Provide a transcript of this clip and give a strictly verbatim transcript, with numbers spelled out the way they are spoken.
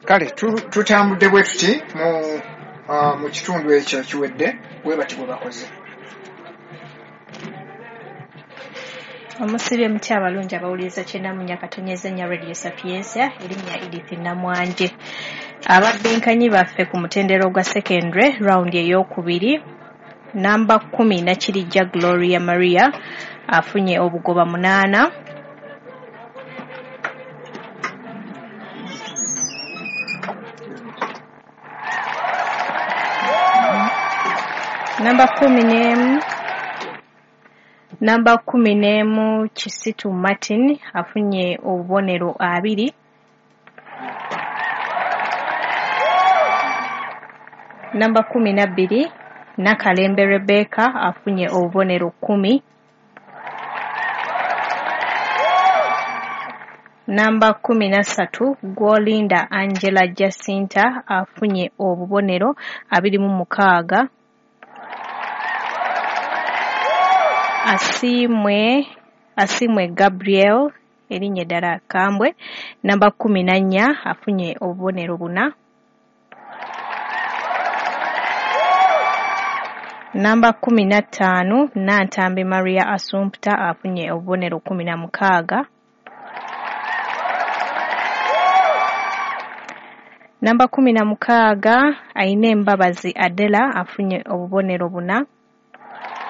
Kale tutambudde bwe tuti mu uh, mu kitundu ekyo kiwedde, bwe bati bwe bakoze. Omusibye mutya abalungi abawuliriza kyenda mu nnya katonyeza nnya Radio Sapientia, erinnya Edith Namwanje. Ababinkanyi baffe ku mutendera ogwa secondary round ey'okubiri, namba kkumi Nakirijja Gloria Maria afunye obugoba munaana. Namba kkumi n'emu Namba kkumi n'emu Kisitu Martin afunye obubonero abiri. Namba kkumi na bbiri Nakalembe Rebecca afunye obubonero kkumi. Namba kkumi na ssatu Gwolinda Angela Jacinta afunye obubonero abiri mu mukaaga. Asiimwe Asiimwe Gabriel erinnya eddala Kambwe, namba kkumi na nnya afunye obubonero buna. Namba kkumi na ttaano Nantambi Maria Assumpta afunye obubonero kkumi na mukaaga. Namba kkumi na mukaaga Aine Mbabazi Adela afunye obubonero buna.